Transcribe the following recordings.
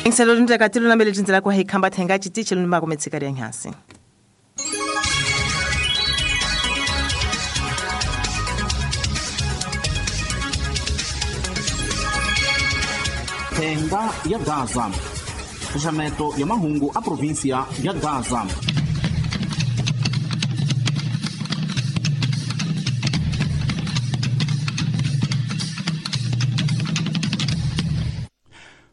Ingiselo lundeka tilunamele tindzela ku hikhamba thenga chitichi lunima kumetsika lya nyansi. Thenga ya Gaza. Xaxameto ya mahungu a província ya Gaza.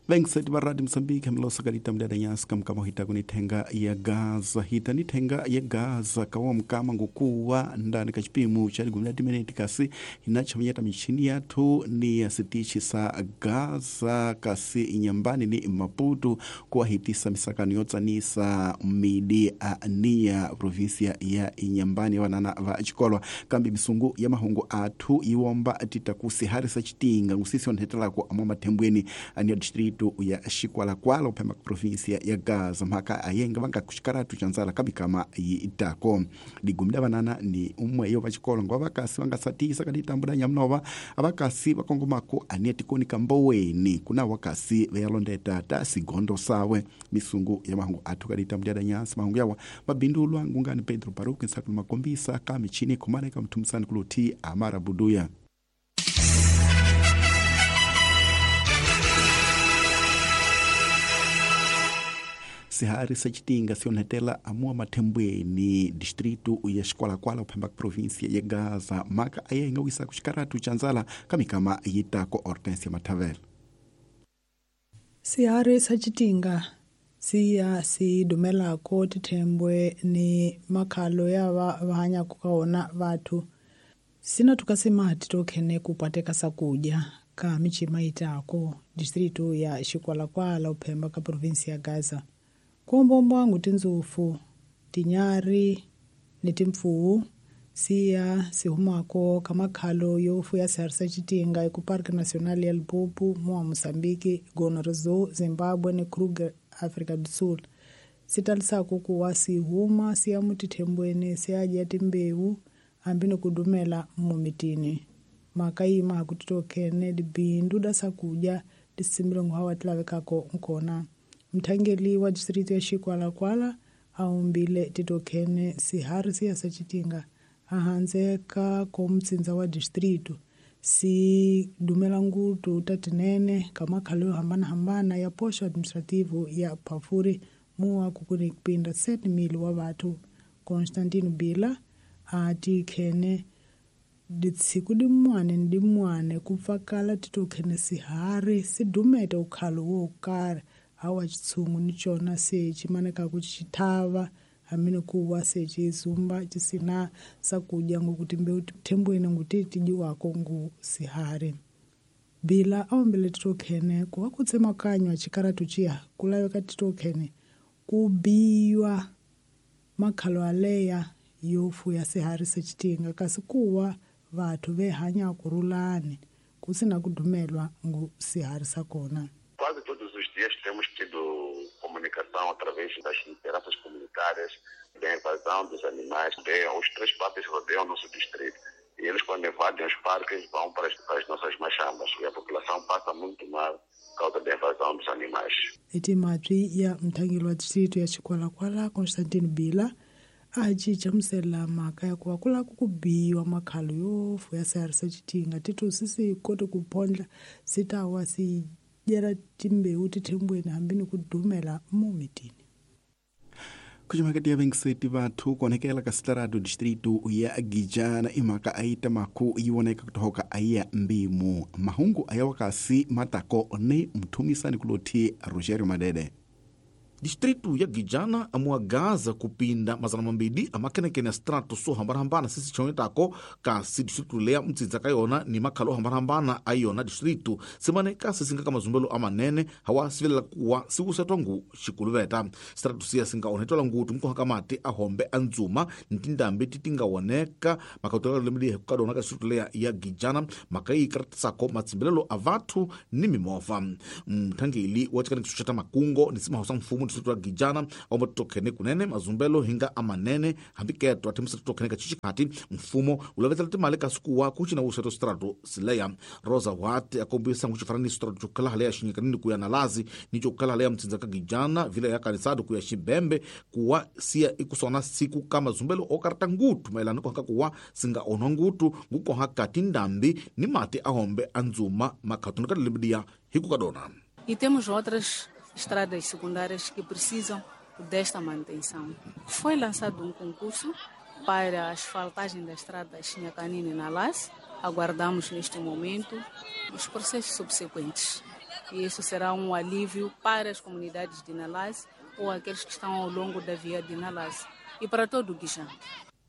Vengiseti va Radio Mozambique milosa ka ditambu lya nyasi kamukama hita kuni thenga ya Gaza hita ni thenga ya Gaza kawa mukama ngukuwa ndani ka chipimo cha ligumi la timineti kasi hinachamanyata michini yathu ni ya sitichi sa Gaza kasi inyambani ni Maputo kuwahitisa misakano yotsanisa midi a niya província ya inyambani vanana va chikolwa kambi misungu ya mahungu athu iwomba titakusiharisa chitinga ngusisi onhethelako amwa mathembweni aniya distrito ya Xikwalakwala uphema província ya Gaza mhaka ayenga vanga kuxikaratu xa ndzala kamikama yi itako ligumi la vanana ni umwe yo va xikolo ngo vakasi va nga satisa ka ditambula nyamunova avakasi va kongomako aniya tikoni ka mboweni kuna wakasi va ya londeta ta sigondo sawe misungu ya mahungu athu ka ditambula ya nyasi mahungu yawa mabindulwa ngungani Pedro Baruki nsakulu makombisa ka michini khomana ka mthumisani kuluthi Amara Buduya. Sihari sa chitinga sionhetela amua mathembweni distrito ya Xikwalakwala uphemba província ya Gaza maka ayenga wisa kuxikaratu xa ndzala ka mikama yitako Hortensia Mathavela. Sihari sa chitinga siya si dumelako tithembwe ni makhalo ya va hanyako ka wona vathu sina tukasema titokhene kupateka sakudya ka michima itako distrito ya Xikwalakwala uphemba ka província ya Gaza. Kuombombwangu tinzufu, tinyari ni timpfuwu siya sihumako kamakhalo yofu ya sihari sa chitinga eku Parque Nacional ya Limpopo mua Moçambique, Gonorzo, Zimbabwe ni Kruger, Africa do Sul. Sitalisako kuwa sihuma siya mutithembweni siyadya timbewu hambi ni kudumela mumitini. Maka yima kutitokhene dibindu da sakudya tisimbilongo hawa tilavekako nkona. Mthangeli wa distrito ya Xikwalakwala aumbile titokhene sihari siya sa chitinga ahandze ka komutsinza wa distrito si dumela ngutu tatinene ka makhalo yo hambanahambana ya poxo administrativo ya Phafuri muwa kukuni kupinda 7,000 wa vathu. Constantino Bila a tikhene ditsiku dimwane ni dimwane ku pfakala titokhene sihari si dumete ukhalo wo karhi awa chitshungu ni chona se chimanekaku chithava hamini kuwa se chizumba chisina sakudya ngokuti mbewu thembweni nguti tidyiwako ngu sihari. Bila aombele titokhene kuwa kutsemakanywa chikaratu chiya kulaveka titokhene kubiywa makhalo aleya yo fuya sihari sa chitinga kasi kuwa vathu ve hanya kurulani kusina kudumelwa ngu sihari sa kona. Quase todos os dias temos tido comunicação através das lideranças comunitárias, da invasão dos animais. Os três parques rodeiam o nosso distrito. E eles, quando invadem os parques, vão para as nossas machambas. E a população passa muito mal por causa da invasão dos animais. Etimatwi ya mthangeli wa distrito ya Xikwalakwala Constantino Bila a cica mhaka ya kuva ku lava ku biwa makhalo yo fuya sihari sa chitinga titosi si kote ku phondla si ta wa si dyela timbewu tithembweni hambi ni ku dumela mumitini. Kuximakati ya vengiseti vathu kuonekela ka sitarado distrito ya Gijana imhaka aita maku yi voneka kutohoka aiya mbimu mahungu ayawakasi matako ni mthumisani kulothi Rogerio Madede. Distrito ya Gijana amua Gaza kupinda 200 amakenekene ya strato so hambanahambana sisi chonetako kasi distrito leya mtsitsa ka yona ni makhalo hambanahambana ayona distrito simane kasi singa ka mazumbelo amanene hawa sivelela kuwa siwusetwa ngu xikuluveta strato siya singa onhetwela ngutu nkohaka mati ahombe andzuma ni tindambi ti tinga woneka makhautelelo lemelihe kukadona ka distrito leya ya Gijana maka yi karatisako matsimbelelo a vathu ni mimovha. Mthangeli wa tshikanikiso xa ta makungo ni simaho sa mfumo Distrito ya Gijana omba titokhene kunene mazumbelo hinga amanene hambi keto athemisa titokhene ka chichikhati mfumo ulavetela timali kasi kuwa kucina wuseto strato sileya. Rosa Wat akombisa nguxifaraniso strato cokhala hale ya Xinyikanini kuya Nalazi ni cokhala hale ya Mtsinza ka Gijana vila ya Kanisado kuya Xibembe kuwa siya ikusona siku ka mazumbelo okarata ngutu maelana kuhaka kuwa singa onwa ngutu ngukoha kati ndambi ni mati ahombe anzuma makhatuni ka limbidiya hikukadona. E temos outras estradas secundárias que precisam desta manutenção. Foi lançado um concurso para a asfaltagem da estrada Xinhacanine na Las. Aguardamos neste momento os processos subsequentes. E isso será um alívio para as comunidades de Nalás ou aqueles que estão ao longo da via de Nalás e para todo o Guijá.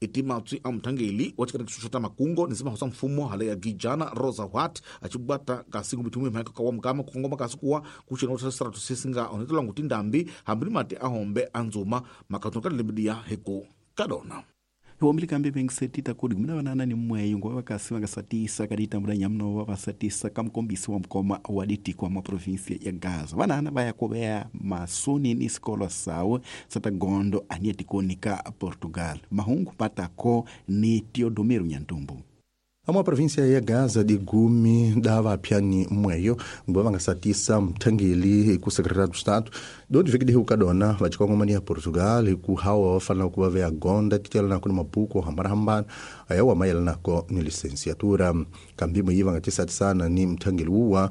Itimatsi a mthangeli wa tshikati xa makungo ni sima mfumo hale ya Gijana Rosa Wat achibata kasi ngubithumi mhaka ka wa mukama kukongoma kasi kuwa kuchina utsha strato sisinga onetela nguti ndambi hambi mati ahombe anzuma makhatuni ka limbidiya hiku kadona. Hiwambili kambe vengisetita kudi kumina vanana ni mmweyo ngoba vakasi vangasatisa kaditambula nyamnova vasatisa kamukombisi wa mukoma wa ditiko mwa provinsia ya Gaza. Vanana vaya kuveya masoni ni sikolo sawo satagondo aniyetikoni ka Portugal. Mahungu patako ni Teodomiro Nyantumbu. Amwa província ya Gaza de Gumi dava apyani mweyo ngoba vangasatisa mthangeli ku secretário do Estado do viki de Kadona vachikongomani ya Portugal ku hawa vafanela kuva veya gonda titela nako ni mabuku hambanahambana ayawa mayelana nako ni licenciatura kambimo yi vangatisatisana ni mthangeli wuwa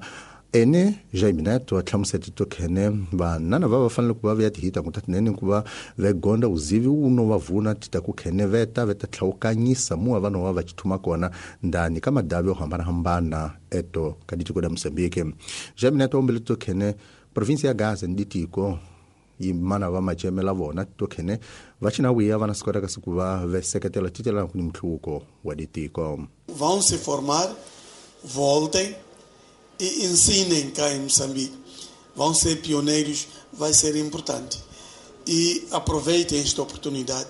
ene Jaime Neto ahlamusela tokhene vanana va va fanele ku va veya tihita ku tatinene ku va vegonda uzivi uno va vuna tita ku khene veta veta tlhawukanyisa muwa vanhu va va chithuma kona ndani ka madavi yo hambanahambana eto ka ditiko da Moçambique. Jaime Neto ombele tokhene província ya Gaza ni ditiko yimana va macemela vona tokhene va china wiya vana sikota kasi ku va veseketela titela ku ni mhluko wa ditiko. Vão se formar, voltem e ensinem cá em Moçambique. Vão ser pioneiros, vai ser importante. E aproveitem esta oportunidade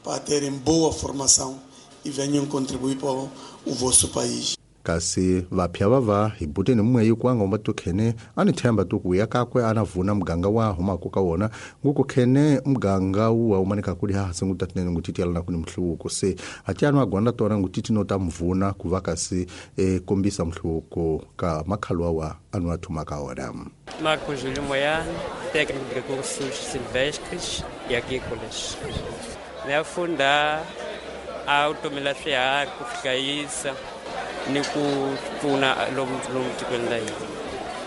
para terem boa formação e venham contribuir para o vosso país. Kasi vapya vava hi buteni mweyi kuanga tokhene ani themba tukuya kakwe ana vuna muganga wa humako ka wona nguku khene muganga uwa umanika kuli hahasi ngutatinene ngutitiyalana kuni mhluko se atiano agwanda tona ngutiti nota mvuna kuva kasi kombisa mhluko ka makhalu awa anu athuma ka wona. Marcos Júlio Moiano, técnico de recursos silvestres e agrícolas. Niyafunda automela swiharhi ku hlayisa ni ku pfuna lomu tikweni la hina.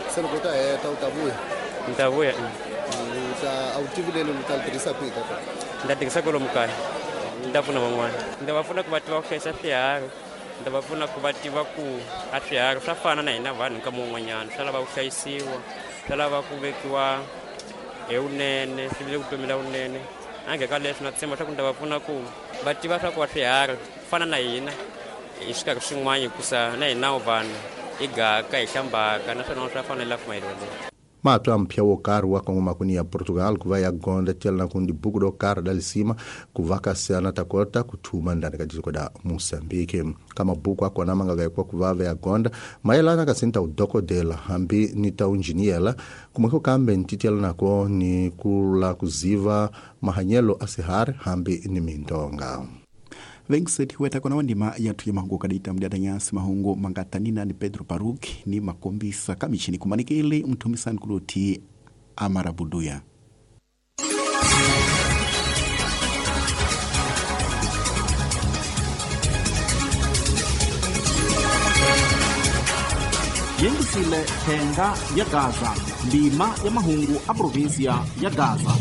Se loko u ta heta u ta vuya? Ni ta vuya. U ta a wu tivi leli u ta li tirhisa kwihi ka kona? Ni ta tirhisa kwalomu kaya. Ni ta pfuna van'wana. Ni ta va pfuna ku va tiva ku hlayisa swiharhi. Ni ta va pfuna ku va tiva ku a swiharhi swa fana na hina vanhu nkama wun'wanyana. Swa lava ku hlayisiwa, swa lava ku vekiwa hi vunene, swi vile vutomi la vunene. Ange ka leswi na tshemba swa ku ni ta va pfuna ku va tiva swa ku wa swiharhi fana na hina hi xikarhi xin'wana hikusa na hina vanhu hi gaka hi hlambaka naswona swa fanela ku mayelana. Matwa mpya wo karhi wa kongomakuni ya Portugal ku va ya gonda tiyelana ku dibuku do karhi da lisima ku va kasi ana ta kota ku thuma ndani ka tiko da Moçambique. Ka mabuku akona ma nga vekwa ku va ya gonda mayelana kasi ni ta udokodela hambi ni ta unjiniyela kumwe kambe ni titelanako ni kula kuziva mahanyelo a sihari hambi ni mindonga. Vengiseti weta kona wandima yathu ya mahungu kadita mdiada nyasi mahungu mangatanina ni Pedro Paruki ni makombisa kamichini kumanikele mthumisani kuloti amarabuduya. Yengisile thenga ya Gaza, ndima ya mahungu a provinsia ya Gaza.